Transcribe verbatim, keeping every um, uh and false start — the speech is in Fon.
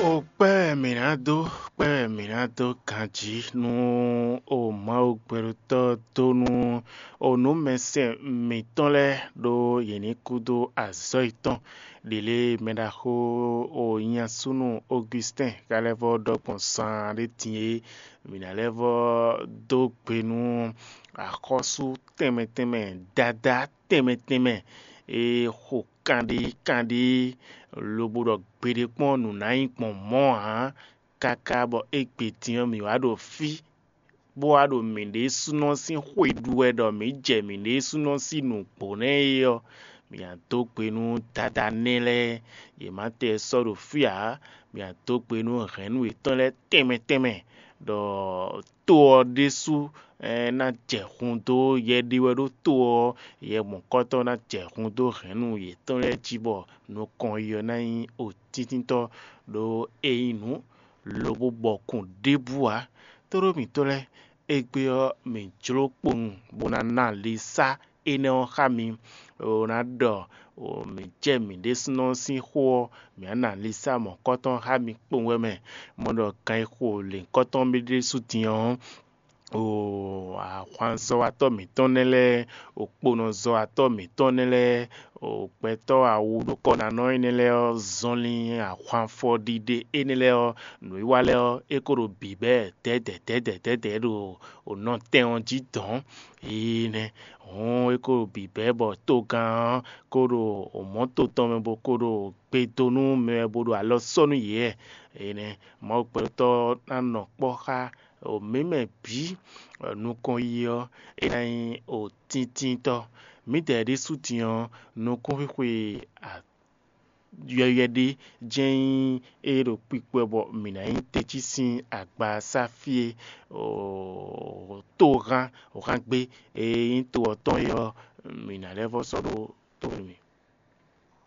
O kpɛ́ wɛ mǐ ná dó, kpɛ́ wɛ mǐ ná dó ganjí nú o Mawu gbɛɖotɔ́ dó nú o nǔmɛsɛn mǐtɔn lɛ́ɛ, ɖó yě ní kú dó azɔ̌ yětɔn. Ɖě lě mɛ ɖaxó o nyasúnú Augustin ka lɛ́ vɔ́ ɖɔ gbɔn saan ɖé din é, mǐ ná lɛ́ vɔ́ dó gbe nú axɔ́sú tɛnmɛ tɛnmɛ, dadá tɛnmɛ tɛnmɛ e xo kanɖé kanɖé lobo ɖɔ gbeɖé kpɔ́n nǔ ná nyí gbɔn mɔ̌ ǎ, káká bɔ égbé din ɔ́, mǐ wá ɖo fí, bó wá ɖo mǐɖésúnɔ sín xwe ɖu wɛ ɖɔ mǐ jɛ mǐɖésúnɔ sín nǔgbó nɛ́ é ɔ́, mǐ ná dó gbe nú dadá nɛ́ lɛ́ɛ, yě má tɛ sɔ́ ɖo fí ǎ. Mǐ ná dó gbe nú hɛ̌nnu yětɔn lɛ́ɛ tɛnmɛ tɛnmɛ, ɖɔ to ɔ́ ɖésú ná jɛ hun dó yɛ ɖé wɛ ɖó to ɔ́, yɛ mɔ̌kɔtɔn ná jɛ hun dó hɛ̌nnu yětɔn lɛ́ɛ jí, bɔ nukɔn yi ɔ́ ná nyí otíntítɔ́ ɖó é nyí nǔ, lobo bɔkun ɖěbǔ ǎ. Tóɖó mǐtɔn lɛ́ɛ, égbé ɔ́, mǐ jló kpowun bó ná ná lisá énɛ́ ɔ́ xá mi, bó ná ɖɔ mǐ jɛ mǐ ɖésúnɔ sín xó ɔ́, mǐ ná ná lisá mɔ̌kɔtɔn xá mi kpowun wɛ mɛ. Mɔ ɖɔ gan e xo lěhunkɔtɔn mì ɖésú din ɔ́, o ahwanzɔ́watɔ́ mǐtɔn nɛ́ lɛ́ɛ, o kponɔzɔ́watɔ́ mǐtɔn nɛ́ lɛ́ɛ, o gbɛtɔ́ awu ɖokɔ́nánɔ énɛ́ lɛ́ɛ ɔ́, zɔnlin ahwanfɔɖiɖe énɛ́ lɛ́ɛ ɔ́, nǔwiwa lɛ́ɛ ɔ́, é ko ɖo bǐbɛ́ dɛ̌dɛ̌ dɛ̌dɛ̌ dɛ̌dɛ̌ ɖo o nɔtɛn ɔ́ jí dɔ̌n. Énɛ́ hɔn é ko ɖo bǐbɛ́ bɔ togán ɔ́ ko ɖo mɔ̌to tɔn mɛ bó ko ɖo gbe dó nú mɛ wɛ bó ɖo alɔ sɔ́ nú yě wɛ. Énɛ́ Mawu gbɛtɔ́ ná nɔ kpɔ́ xá mǐ mɛ bǐ, nukɔn yi ɔ́, é ná nyí otíntítɔ́. Mǐdɛɛ ɖésú din ɔ́, nukúnxwixwe yɔywɛ ɖé jɛ́n nyí é ɖo kpikpɔ́ bɔ mǐ ná nyí tecí sín agba sá fí e togán hán gbé e nyí to ɔ́ tɔn é ɔ́, mǐ ná lɛ́ vɔ́ sɔ́ ɖó to mǐ.